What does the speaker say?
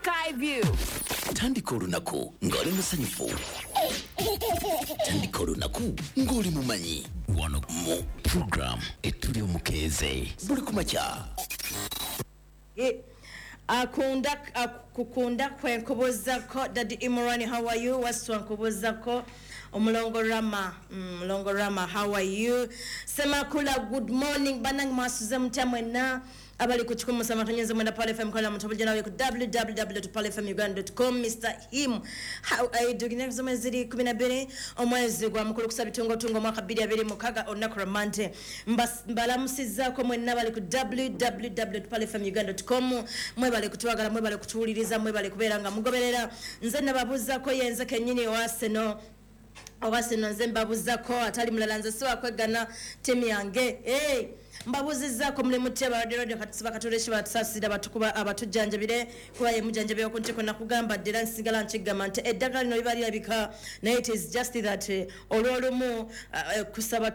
Skyview. Tandika olunaku ng'oli musanyufu. Tandika olunaku ng'oli mumanyi. Wano mu program Etuli Omukeeze buli kumakya. Akunda kukunda kwe nkubuuzako. Daddy Imran, how are you? Waswa, nkubuuzako. Omulongo Rama, Mulongo Rama, how are you? Semakula, good morning. Banange, mwasuze mutya mwenna abali ku 107.9 Pearl FM kola mutobulja nawe ku www.pearlfmuganda.com. Mr Him, how are you doing? Ennaku z'omwezi ziri 12, omwezi gwa mukulu kusa bitungotungo, omwaka 2026, olunaku lwa Mande. Mbalamusizzaako mwenna bali ku www.pearlfmuganda.com. Mwebale kutwagala, mwebale kutuwuliriza, mwebale kubeera nga mugoberera. Nze nababuuzaako, yenze kennyini owaseno oba sino. Nze mbabuuzako, atali mulala, nze siwakwegana tiimu yange. Hey, mbabuuzizzaako, muli mutya? Balwadde radio katusiba katuleshi batusaasira, batukuba abatujjanjabire, kuba ye mujjanjabi oku ntiko. Nakugamba dde era nsigala nkigamba nti eddagala lino liba lirabika, naye it is just that olw'olumu kusaba.